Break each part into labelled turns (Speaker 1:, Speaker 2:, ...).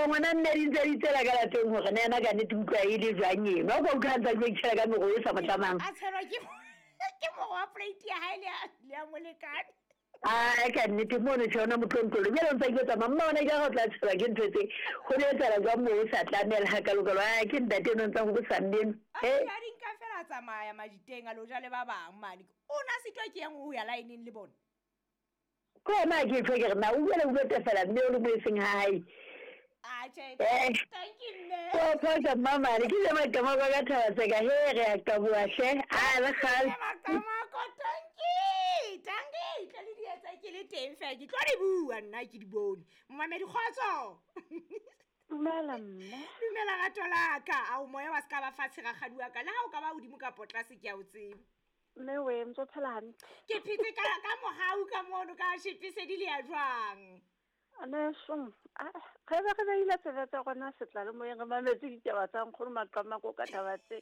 Speaker 1: Ngwana mme di ntse di tsela ka lapeng gore na ena ka nnete utlwa e le jwang eno. A kwa utlwa a ntse a dula itšhela ka mego e sa mo tlamang.
Speaker 2: A tshelwa ke ke mogo wa plate ya hae le ya molekane.
Speaker 1: A ka nnete mono tjhe ona motlontlolo. Jwale o ntse a iketsa mamma ona ke ga o tla tshelwa ke ntho tse. Go ne etsala jwang moo o sa tlamela ha kalokalo. A ke ntate eno ntse go bosa mme eno.
Speaker 2: A di a di nka fela a tsamaya majiteng a lo ja le ba bang mane. O na sitwa ke yang ho ya laeneng le bona.
Speaker 1: Ke yona ke tjho ke re na o boela o tefela mme o le mo e seng ha hae.
Speaker 2: Atjhe,
Speaker 1: Eh.
Speaker 2: thank you mme.
Speaker 1: O phosa mmamane ke le maqamako ka thaba tseka he re a qaboa hle a le kgale.
Speaker 2: Maqamako, thank you. Thank you. Tlo le di etsa ke le teng fela ke tlo di bua nna ke di bone. Momamedi kgotso.
Speaker 3: Dumela mme.
Speaker 2: Dumela rato la ka. Ao moya wa ska ba fatshe rakgadi wa ka. Le ha o ka ba hodimo kapa tlase ke a o tseba.
Speaker 3: Mme we ntse o phela hantle.
Speaker 2: Ke phetse ka ka mohau ka mono ka shepesedi le ya jwang.
Speaker 3: Aneso, a ge be re beile tsebe tsa rona setla le moyeng re mametse ditaba tsa nkgono Maqamako ka taba tse.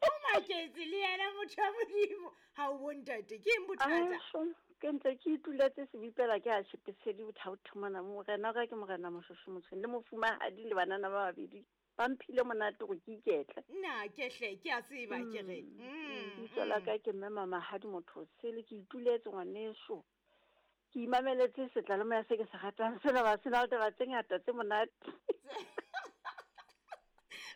Speaker 2: O maketse le yena motho wa Modimo. Ha o bo ntate, ke eng bothata?
Speaker 3: Aneso, ke ntse ke ituletse sebipela ke a shepesedi bothaotho mona. Morena wa ka ke morena Moshosho Motshweni le mofumahadi le banana ba babedi. Ba mphile monate gore ke iketle.
Speaker 2: Nna ke hle ke a tseba ke re.
Speaker 3: Lebitso la ka ke mme Mamahadi motho sele ke ituletse ngwaneso. Ke imameletse setla le moya se ke se ratang sena ba sena le taba tse ngata tse monate.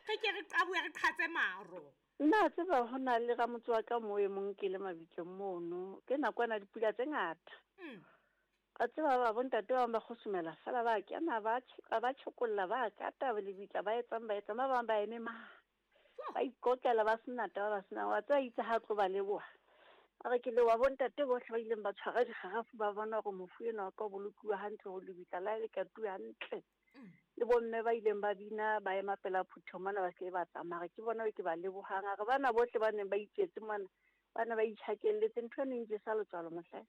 Speaker 2: Re ke re qaboe re qhatse maro.
Speaker 3: Nna a tseba ho na le ramotse wa ka moo e mong ke le mabitleng mono. Ke nakwana dipula tse ngata. A tseba ba bontate ba bang ba kgosomela fela ba kena ba ba tjhokolla ba kata lebitla ba etsang ba etsang ba bang ba eme ma. Ba ikokela ba sena taba ba sena wa tseba itse ha tlo ba leboha. A re ke leboha bontate bohle ba ileng ba tshwara dikgarafu ba bona hore mofu enwa wa ka o bolokuwe hantle hore lebitla la hae le katuwe hantle. Le bomme ba ileng ba bina ba ema pela phutheho mona ba se ba tsamaya. Re ke bona ke ba lebohang. A re bana bohle ba neng ba itswetse mona ba ne ba itjhakelletse ntho eno e ntjesa letswalo mohlae.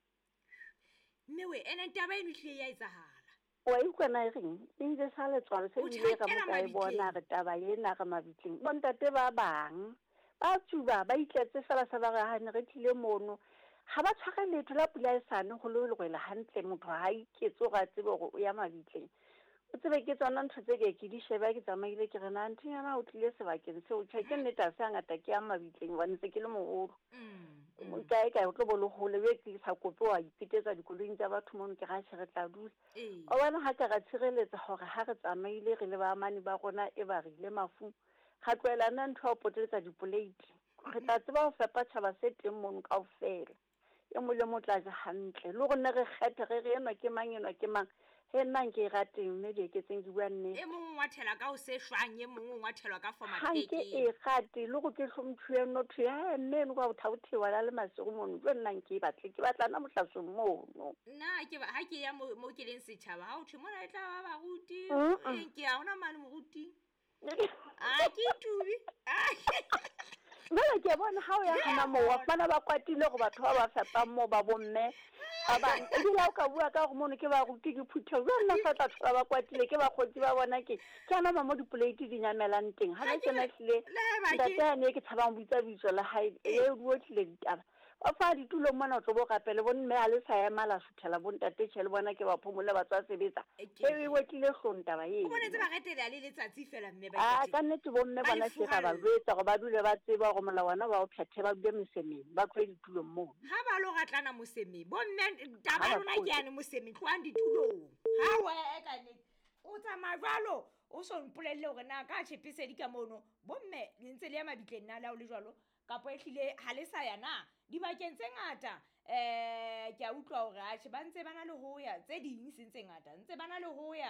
Speaker 2: Mme we ene taba eno ehlile ya etsahala.
Speaker 3: Wa utlwa na e reng? E ntjesa letswalo se
Speaker 2: O
Speaker 3: ebile re
Speaker 2: tjhakela
Speaker 3: mo ka e bona
Speaker 2: mabitleng.
Speaker 3: re taba ena re mabitleng. Bontate ba bang ba tsuba ba itletse fela sa ba re ha ne re tlile mono. Ha ba tshware letho la pula e sane ho le lwela hantle motho ha iketse hore a tsebe hore o ya mabitleng. O tsebe ke tsona ntho tse ke ke di sheba ke tsamaile ke re na nthonyana o tlile sebakeng seo tjhe ke nnete ha se hangata ke ya mabitleng hobane se ke le moholo. Kae kae o tlo bo le hole be ke sa kope wa ipetetsa dikoloing tsa batho mono ke ra tjhe re tla dula. Wa bona ha ka ra tshireletsa hore ha re tsamaile re le baamani ba rona e ba re ile mafung. Ra tlohela nna ntho ya ho poteletsa dipoleiti. Re tla tseba ho fepa tjhaba se teng mono kaofela. E mong le mong o tla ja hantle. Le hore nne re kgethe re re enwa ke mang enwa ke mang. He nna nke e rateng mme Dieketseng ke bua nnete.
Speaker 2: E mong o ngwathela ka ho se shwang, e mong o ngwathelwa ka forma
Speaker 3: Ha nke
Speaker 2: peke.
Speaker 3: e rate le hore ke hlomphiwe no thwe, he mme eno ka bothaothewa la le masigo mono, jwale nna nke e batle, ke batla nna mohlasong mono.
Speaker 2: Nna ke ba ha ke ya mo ke leng setjhaba, ha ho thwe mona e tla ba baruti, ke ya hona mane moruti. A ke tubi.
Speaker 3: Jwale ke bona ha o ya hona moo, wa fumana ba kwatile hore batho ba ba fepang moo ba bomme ba bang. Ebile ha o ka bua ka hore mono ke baruti ke phutheho, jwale nna sa tla thola ba kwatile ke bakgotsi ba bona ke ana mo dipoleiti di nyamelang teng. Ha
Speaker 2: Ha
Speaker 3: ke
Speaker 2: ke
Speaker 3: na hlile
Speaker 2: le haeba ke
Speaker 3: ntate yane ke tshabang ho bitsa bitso la hae, e o tlile ditaba. Ba fa ditulo mona o tlo bo rapele bo mme ha le sa ema la suthela bo ntate tjhe le bona ke ba phomole ba tswa sebetsa.
Speaker 2: E
Speaker 3: E o tlile hlong taba eno.
Speaker 2: O bonetse ba retela le letsatsi fela mme ba
Speaker 3: A
Speaker 2: ikete.
Speaker 3: ka nnete bo mme
Speaker 2: Ba
Speaker 3: bona
Speaker 2: le
Speaker 3: ke ra ba
Speaker 2: furalla.
Speaker 3: jwetsa hore ba dule ba tseba hore molawana wa o phethe ba dule mosemeng, ba tlohe ditulong mono.
Speaker 2: Ha ba lo ratlana mosemeng, bo mme taba
Speaker 3: Ha ba
Speaker 2: lona ke
Speaker 3: tlohe.
Speaker 2: yane mosemeng, tlohang ditulong. Ha wa e ka nnete. O tsamaya jwalo, o so mpolelle hore na ka tjhepesedi ka mono, bo mme le ntse le ya mabitleng na le ha o le jwalo, kapo ehlile ha le sa ya na. Dibakeng tse ngata, ke a utlwa hore atjhe ba ntse ba na le ho ya, tse ding seng tse ngata, ntse ba na le ho ya,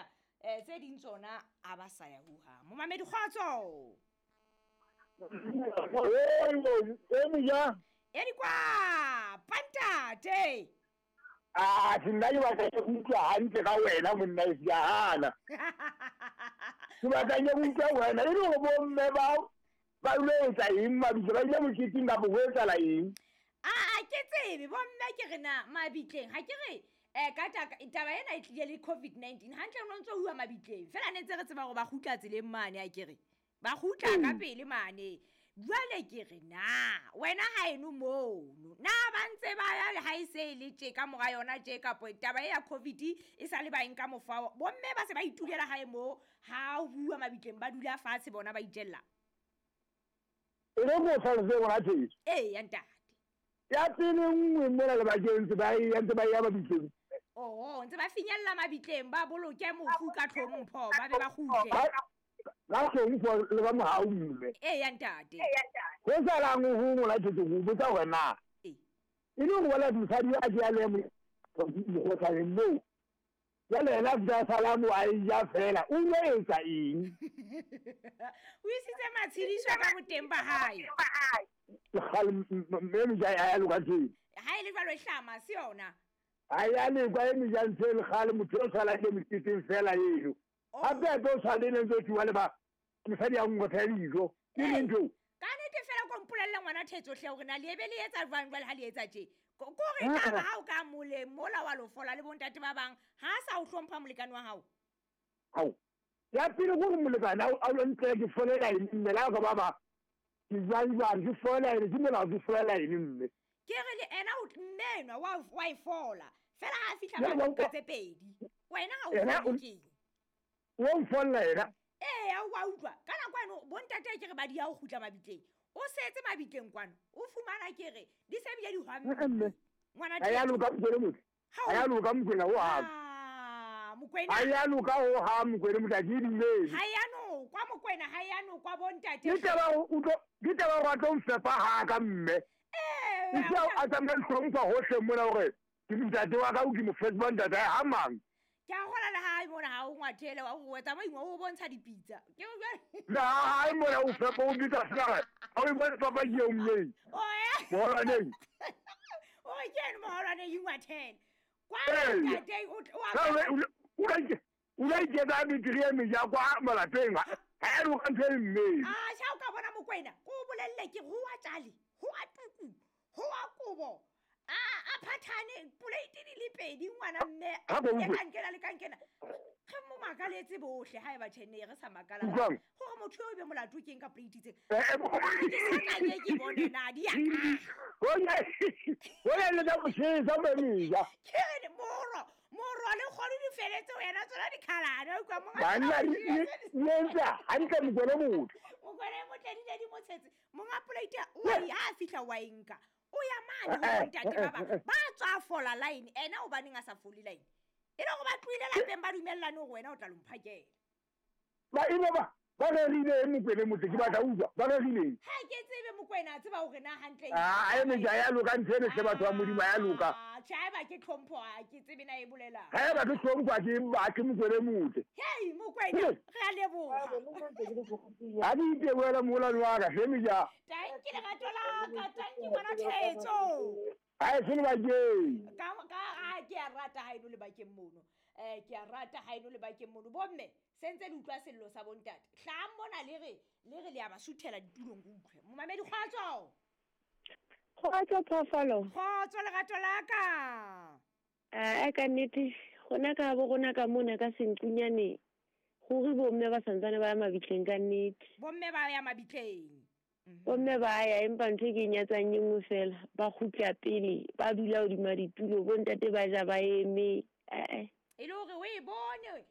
Speaker 2: tse ding tsona ha ba sa ya hohang. Momamedi kgotso. E di kwa, pantate.
Speaker 4: Ah, nna ke batla ke utlwa hantle ka wena monna e ke a hana. Ke batla ke utlwa wena e le hore bomme bao ba ile etsa eng mabitla, ba ile moketeng kapa ho etsahala eng?
Speaker 2: A ke tsebe bomme ke re na mabitleng ha ke re ka taba ena e tlile le COVID-19 hantle no ntso huwa mabitleng fela ne ntse re tseba hore ba kgutla tseleng mane a ke re ba kgutla ka pele mane. Jwale ke re na wena ha eno mono na ba ntse ba ya le ha e se e le tje ka mora yona tje, kapo taba e ya COVID e sa le ba nka mofao, bomme ba se ba itulela hae moo, ha o bua mabitleng ba dula fatshe bona ba itjella.
Speaker 4: E re ko hlalose ngwana Thetso.
Speaker 2: Ee ya ntate.
Speaker 4: Ya pele nngwe mona lebakeng ntse ba ya, ntse ba ya mabitleng.
Speaker 2: Oh, ntse ba finyella mabitleng, ba boloke mofu ka tlhompho, ba be ba kgutle.
Speaker 4: Ka tlhompho le ka mohau mme.
Speaker 2: Ee ya ntate.
Speaker 4: Ho salang ho ngwana Thetso go botsa hore na
Speaker 2: Ee.
Speaker 4: e le gore wala mosadi a ke a le mokgotlhaneng moo, jwale yena a fihla a sala moo a e ja fela, o ile a etsa eng?
Speaker 2: O isitse matshediso ka boteng ba hae.
Speaker 4: Kgale mme meja a ya loka teng.
Speaker 2: Ha e le jwalo e hlama se yona.
Speaker 4: Ha ya lekwa e meja ntho e le kgale, motho o salang le moketeng fela eno. Hape hape o tshwane le ntse tsuwa le ba mosadi ya ngotha dijo. Ke
Speaker 2: Ee.
Speaker 4: eng ntho?
Speaker 2: Ka nnete fela ko mpolelle ngwana Thetso hle hore na le ebe le etsa jwang jwale ha le etsa tje. Ko re taba ha o ka mole mola wa lofola le bontate ba bang, ha a sa o hlompha molekane wa hao.
Speaker 4: Hao. Ya pele gore molekane a lo ntle ke folela eng mme la ka ba ba ke jwang jwang ke folela eng, ke molao ke folela eng mme.
Speaker 2: Ke re le ena o mme enwa wa e fola. Fela ha a fihla
Speaker 4: Ya,
Speaker 2: ba
Speaker 4: wa
Speaker 2: nka
Speaker 4: utlwa.
Speaker 2: tse pedi. Wena ha o
Speaker 4: Yena
Speaker 2: fole keng?
Speaker 4: O mfolla yena.
Speaker 2: Ee, o wa utlwa. Ka nako eno bontate ke re ba di ya ho kgutla mabitleng. O setse mabitleng kwano. O fumana ke re di se bile di hwamme.
Speaker 4: Mme.
Speaker 2: Ngwana
Speaker 4: Ha ya
Speaker 2: Thetso.
Speaker 4: loka Mokwena motho.
Speaker 2: Ha
Speaker 4: Ha ya loka Mokwena ho hang.
Speaker 2: Ah, Mokwena.
Speaker 4: Ha ya loka ho hang Mokwena motho a ke dumele.
Speaker 2: Ha ya nokwa Mokwena, ha ya nokwa bontate.
Speaker 4: Ke taba o tlo, ke taba wa tlo mfepa ha ka mme.
Speaker 2: Ee,
Speaker 4: Ke taba a tsamaya hlompha hohle mona hore ke ntate wa ka o ke mo fepa ntate ha mang.
Speaker 2: Ke a kgola le hae mona ha o ngwathele wa o tsamaya ingwe o bontsha dipitsa. Ke o jwale.
Speaker 4: Na hae mona o fepa o bitsa fela. Ha o bone papa ke eo mme.
Speaker 2: O ya.
Speaker 4: Moholwaneng.
Speaker 2: O re ke eno moholwaneng ingwathele. Kwa
Speaker 4: Ee.
Speaker 2: ntate o tl-, o a
Speaker 4: Ka o o la ke, o la iketsa beteri e meja kwa malapeng. Ha e loka ntho e mme.
Speaker 2: Ah, sha o ka bona Mokwena, ko o bolelle ke ho wa tjale, ho wa tuku, ho wa kobo. A phathane plate di le pedi ngwana mme.
Speaker 4: Ha ko
Speaker 2: E
Speaker 4: utlwe.
Speaker 2: ka nkena le ka nkena. Re mo makaletse bohle ha eba tjhe ne re sa makala.
Speaker 4: Utlwang?
Speaker 2: Hore motho eo e be molato ke eng ka plate tse.
Speaker 4: Eh, eh,
Speaker 2: Ke sa tla ke ke bone na di ya ka.
Speaker 4: Ho ya le ka botjhesa mme meja.
Speaker 2: Ke re moro, moro le kgono di feletse wena tsona dikhalane, o utlwa monga
Speaker 4: Banna
Speaker 2: tsona
Speaker 4: di
Speaker 2: di feletse.
Speaker 4: di entse hantle Mokwena motho.
Speaker 2: Mokwena e motle di ne di mo tshetse. Monga plate o ya ha fihla wa e nka. O ya mane ho bontate ba bang. Ba tswa fola line, ena hobaneng a sa fole line? E le hore ba tlohile lapeng ba dumellane hore wena o tla lo mphakela.
Speaker 4: Ba ebe ba rerile eng Mokwena motho, ke batla utlwa, ba rerile eng?
Speaker 2: Ha ke tsebe Mokwena, a tseba hore na hantle eng.
Speaker 4: Ah, e meja ya loka ntho ene hle batho ba Modimo, ya loka.
Speaker 2: Ah, tjhe, haeba ke tlhompho, ha ke tsebe na e bolelang.
Speaker 4: Ha eba ke tlhompho, ha ke batle Mokwena motho.
Speaker 2: Hei, Mokwena, re a leboha.
Speaker 4: Ha ke itebohela moholwane wa ka, hle meja.
Speaker 2: Tanki lerato la ka, tanki ngwana Thetso.
Speaker 4: Ha e se lebakeng.
Speaker 2: Ka, ha ke a rata ha eno lebakeng mono. Ke a rata ha eno lebakeng mono. Bomme, se ntse le utlwa sello sa bontate. Hlahang mona le re, le re le a ba suthela ditulong ke utlwe. Momamedi, kgotso.
Speaker 1: Kgotso, phoofolo.
Speaker 2: Kgotso, lerato la ka.
Speaker 1: Ah, ka nnete, rona ka bo rona ka mona ka senqunyane, ruri bomme ba santsane ba ya mabitleng ka nnete.
Speaker 2: Bomme ba ya mabitleng.
Speaker 1: Bomme ba ya, empa ntho e ke e nyatsang e nngwe fela, ba kgutla pele, ba dula hodima ditulo, bontate ba ja ba eme. Eh, eh.
Speaker 2: E le hore o e bone,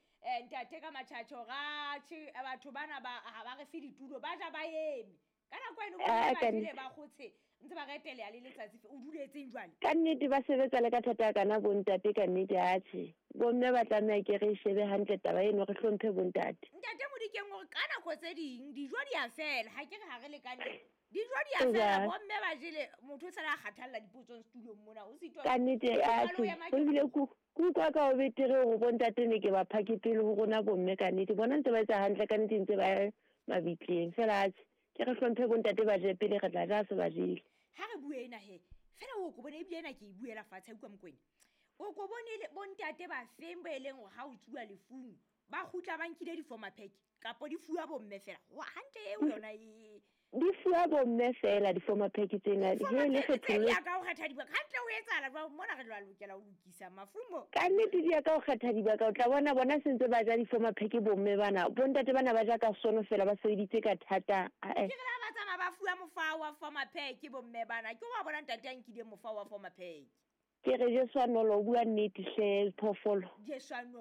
Speaker 2: ntate ka matjhatjho, ratjhe, batho bana ba, ha ba re fe ditulo, ba ja ba eme. Ka nako eno
Speaker 1: Ah,
Speaker 2: bomme ba
Speaker 1: ka
Speaker 2: jele
Speaker 1: nnete.
Speaker 2: ba kgotshe, ntse ba reteleha le letsatsi fe, o duletseng jwale?
Speaker 1: Ka nnete ba sebetsa le ka thata kana bontate, ka nnete atjhe. Bomme ba tlameha ke re shebe hantle taba eno, re hlomphe bontate.
Speaker 2: Ntate Modikeng hore ka nako tse ding dijo di a fela, ha ke re ha re lekane. Dijo di a
Speaker 1: Ee,
Speaker 2: fela,
Speaker 1: ja.
Speaker 2: bomme ba jele, motho o sala a kgathalla dipotsong setulong mona, o sitwa
Speaker 1: Ka nnete,
Speaker 2: o sitwa le ho
Speaker 1: atjhe.
Speaker 2: ema ke
Speaker 1: Ebile ke utlwa ka ho betere hore bontate ne ke ba phake pele ho rona bomme ka nnete. Bona ntse ba etsa hantle ka nnete, ntse ba ya mabitleng. Fela atjhe, ke re hlomphe bontate ba je pele, re tla ja se ba jele.
Speaker 2: Ha re bue ena he, fela o ko bone ebile ena ke e buela fatshe, ha utlwa Mokwena. O ko bone le bontate ba feng ba e leng hore ha o tsuwa lefung, ba kgutla ba nkile di-former pack, kapo di fuwa bomme fela. Wa, hantle eo yona e
Speaker 1: Di fuwa bomme fela di-former pack tsena.
Speaker 2: Di-former
Speaker 1: He, le
Speaker 2: pack tse
Speaker 1: kgethollo.
Speaker 2: di ya ka ho kgetha dibaka. Hantle o etsahala jwang? Mona re tla lokela ho lokisa mafumo.
Speaker 1: Ka nnete di ya ka ho kgetha dibaka. O tla bona se ntse ba ja di-former pack bomme bana. Bontate bana ba ja ka sono fela, ba sebeditse ka thata. Ah, eh.
Speaker 2: Ke re ha ba tsamaya ba fuwa Mofa wa former ke bomme bana. Ke wa bona ntate a nkile mofa wa former.
Speaker 1: Ke re Jesu a nolo, o bua nnete hle phoofolo.
Speaker 2: Jesu a nolo.